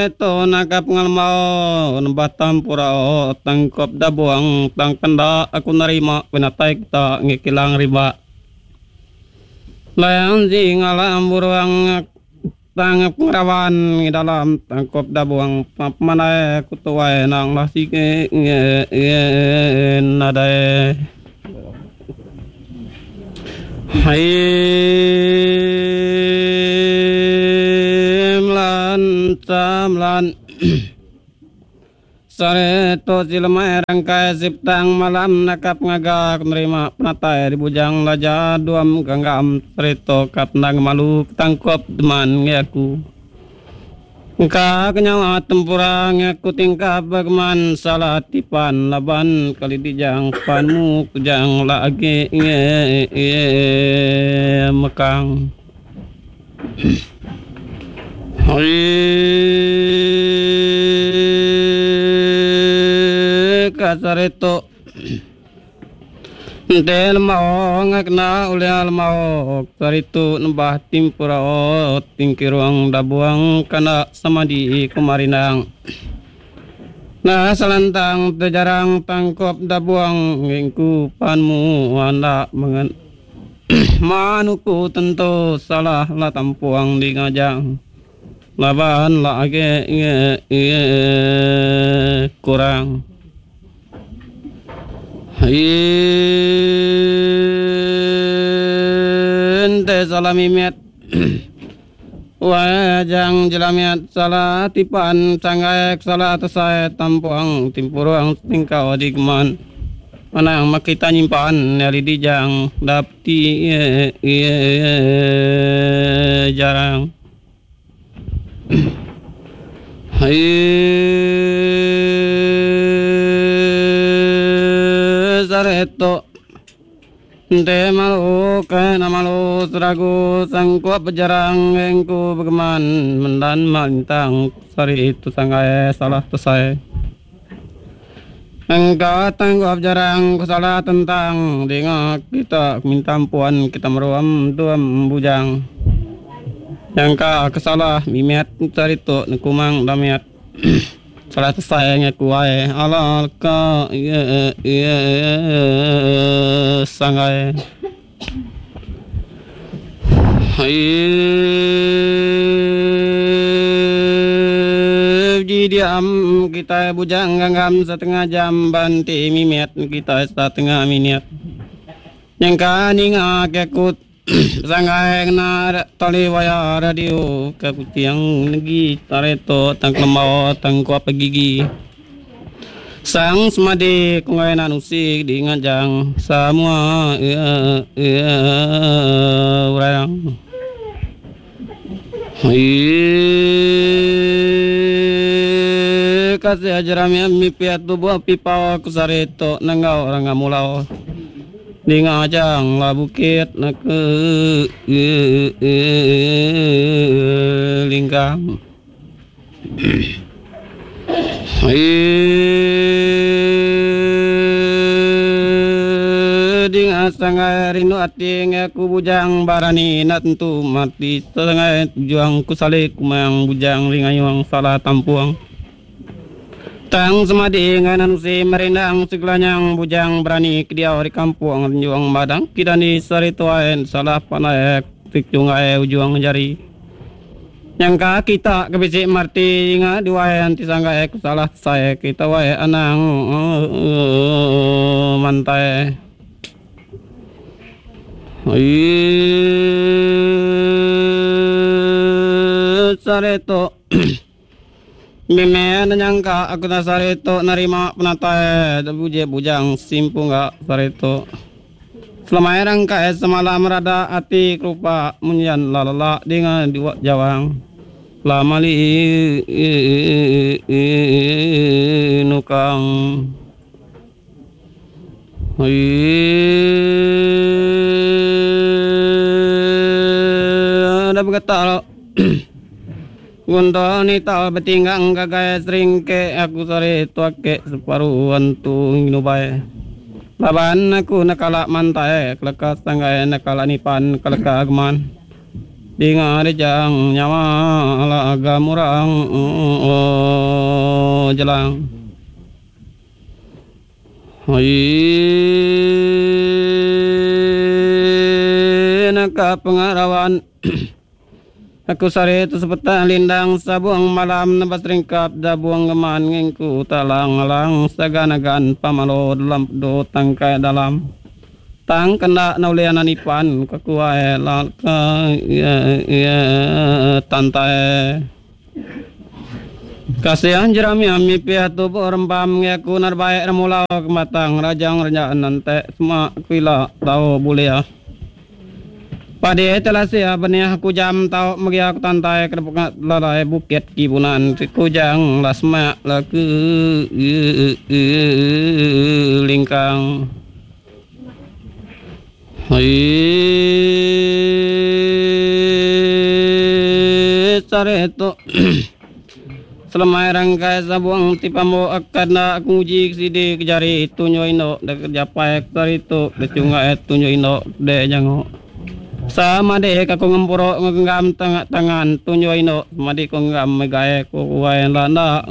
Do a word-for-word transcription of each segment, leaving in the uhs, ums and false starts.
Tu naka pengalemau nembah tampurau tangkup dabuang tang kenda aku nerima penatai kita ngikilang riba. Layang ji ngalam buruang tang pengerawan ngi dalam tangkup dabuang pemandai aku tuai nang lah sigi nadai. Samlan Sare tu si lemai rangkai siptang malam nakap ngaga menerima penatai di bujang laja duam ganggam serito kap nang malu tangkup deman ngi aku. Engka kenyawa tempurang aku tingkap bagaman salah tipan laban kali dijang panmu kujang lagi nge mekang. Kasarito Ente lemau ngakna ulih lemau saritu nembah timpurau tingkiruang dabuang kana samadi kumarinang. Nah selantang terjarang tangkop dabuang ngingku panmu anda mengen manuku tentu salah la tampuang di ngajang. Laban la age nge kurang. Ente salah mimet wajang jelamiat salah tipan sanggaek salah tesai tampuang timpuruang tingkau digman manang makita nyimpan nyali dijang dapti jarang. Sareto Ente malu kena malu seragu sangkuap berjarang engku bergeman mendan malintang sari itu sanggai salah tesai. Engkau tanggup jarang salah tentang dengar kita minta ampuan kita meruam duam bujang. Yang kesalah mimiat cari tu nekumang damiat. Salah tesai ngakuai alal ka ye ye sanggai. Ji diam kita bujang ganggam setengah jam banti mimiat kita setengah minit. Yang ka ninga kekut sanggai kena tali waya radio ke putiang negi tareto tang lemau tang kuap gigi. Sang semadi kungai nanusi di ngajang semua ya ya orang. Kasih ajaran mi piat tubuh pipa aku sareto nangau orang ngamulau. Di ngajang lah bukit nak ke lingkang. Di sangai rindu ati ngaku bujang barani nak tentu mati sangai juang ku salik kumang bujang ringayuang salah tampuang. Tang semadi nganan si merindang segelanyang bujang berani kediau di kampung juang badang kidani sari tuaen salah panaek tikjungai ujuang jari. Yang kita kebisik marti nga diwae anti sanggae salah saya kita wae anang mantai. Sareto Mime nyangka aku tak sareto nerima penatai buje bujang simpu enggak sareto. Selama erang kae semalam rada ati kerupa munyan lalala dengan dua jawang. Lama li nukang. Ada berkata Gunto ni tal betinggang gagai seringke aku sore tuake separuhan tu nginubai. Laban aku nakala mantai kelekas tanggai nakala nipan keleka agman. Dinga dejang nyawa laga murang jelang. Naka pengarawan aku sari tu sepetang lindang sabung malam nebas ringkap dabuang geman ngingku talang alang saganagan pamalo dalam pedu tangkai dalam. Tang kena naulian anipan kekuai la ke tantai. Kasihan jerami ami pihak tubuh rembam ngaku narbaik remulau ke matang rajang renjaan nante semak kuila tau bulia. Padi telasia benih aku jam tau megi aku tantai ke depan lalai bukit kibunan kujang lah semak lah ke lingkang. Sare tu selemai rangkai sabuang tipamu akan nak nguji sidi kejari tunyo ino de kerja paek sari tu de cungai tunyo ino de jango sama de ka ko ngempuro ngenggam tangan tangan tunyo ino madi ko nggam megae ko wae la na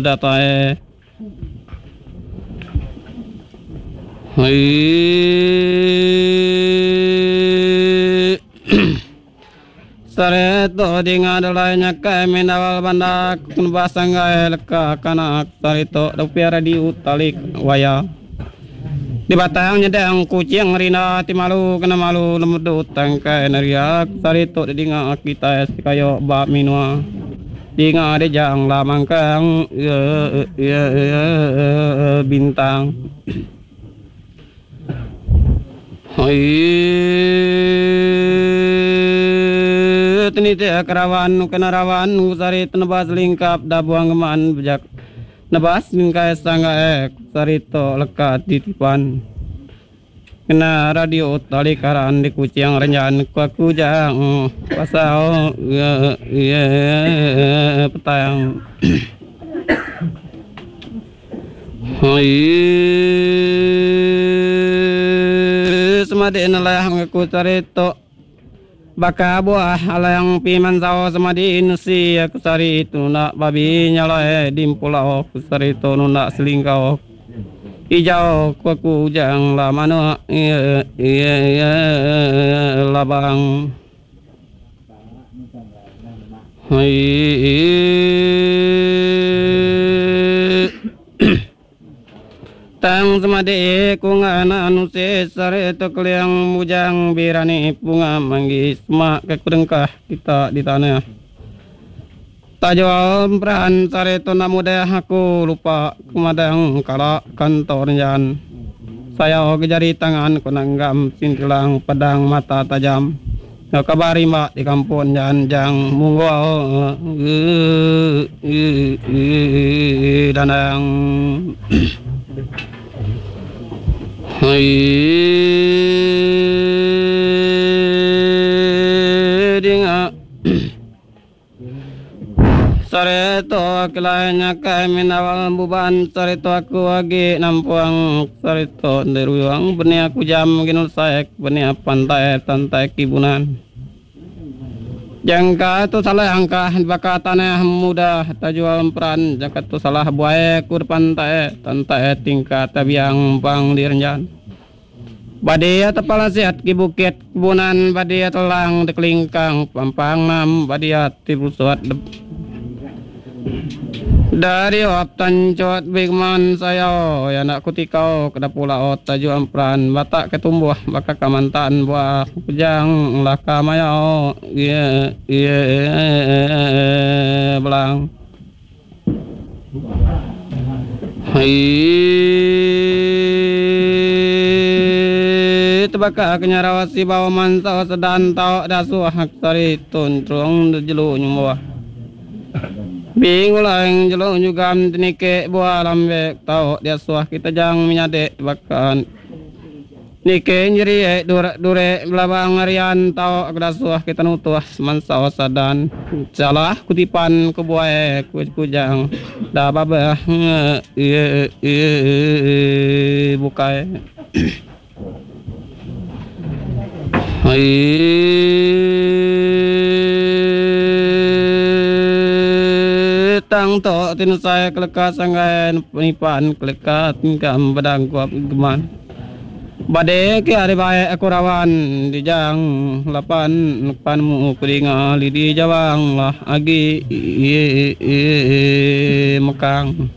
datai. Sareto dinga dalai nyakai menawal banda kun basanggai leka kanak sarito piara di utalik waya. Di batang nyedang kucing rina ti malu kena malu lemedu tangkai nariak sarito dinga kita sikayo ba minua. Dinga dejang lamangkang bintang. Tini kerawan kena rawan sari tenebas lingkap dabuang geman bejak nebas lingkai sangga ek sarito lekat titipan kena radio tali karan di kucing renjan ku jang pasal petang. Semadi nelah ngaku sarito baka buah alang piman sawo semadi inusi aku sari itu nak babi nyalae dimpulau aku sari itu nak selingkau hijau ku aku jang la mano labang. Tang semadi ku ngana anu se sare to keliang bujang birani bunga manggi semak ke kudengkah kita di tanah. Tajual perahan sare to namudah aku lupa kemadang kala kantor jan. Saya kejari tangan ku nanggam sintilang pedang mata tajam. Kabari mak di kampung jan jang munggo danang. Dinga sareto kelainya kami nawal buban sareto aku agi nampuang sareto deruang benih aku jam ginul saek benih pantai tantai kibunan. Jangka tu salah angka baka tanah muda tajual peran jangka tu salah buai kur pantai tantai tingkat tabiang bang direnjan. Badia tepala siat ki bukit kebunan badia telang dekelingkang pampang nam badia tibusuat dari waptan cuat bigman saya ya nak kutikau kena pula taju ampran batak ketumbuh baka kamantan buah kujang laka mayau ye ye belang. Tebaka kenyarawasi bawa mansau sedan tau dasuh sari tuntrung jelu nyumbuh. Bingulang jelu juga tinike buah lambek tau dia suah kita jang menyadek bahkan nike nyeri dure dure belabang arian tau dasuh kita nutuh mansau sadan salah kutipan ke buah ku kujang dah babah bukai. Tang to tin saya keleka sanggai penipan keleka tingkam badang kuap geman. Bade ke ari baik aku rawan dijang lapan pan mu keringa lidi jawang lah agi mekang.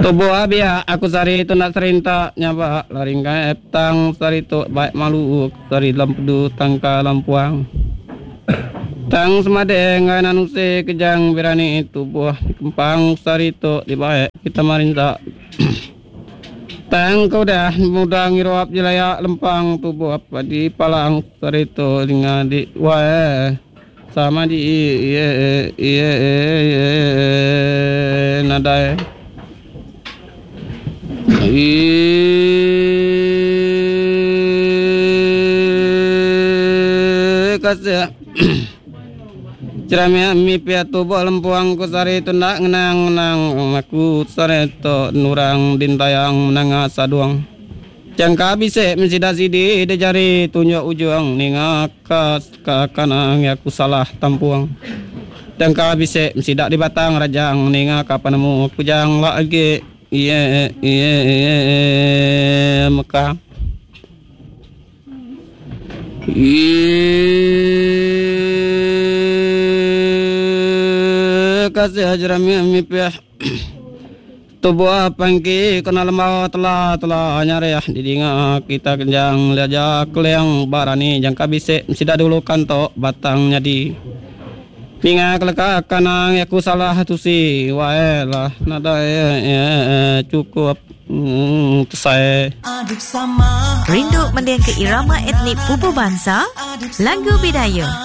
Tubuh abia aku sari tu nak serinta nyaba laringkai tang sari tu baik malu sari lampudu tangka lampuang. Tang semade ngai nanuse kejang berani tubuh kempang sari tu dibaik kita marinta. Tang kau dah muda ngiruap jelaya lempang tubuh apa di palang sari tu dengan di wae sama di iye iye nadai. Kasih ceramah mi pia tubuh lempuang ku sari tundak ngenang ngenang aku sari to nurang dintayang menanga saduang. Jangka bisik mensida sidi de jari tunjuk ujung ninga ka ka kanang aku salah tampuang. Jangka bisik mensida di batang rajang ninga ka panemu kujang lagi iye iye mekang. Kasih hajarami mi pia tubuh pangki kena lemau telah telah nyariah didinga kita kenjang liaja keliang barani jangka bisik sida dulu kantok batangnya di ninga keleka kanang aku salah tusi wae lah nada cukup saya. Rindu mending ke irama etnik pupu bangsa, lagu bidaya.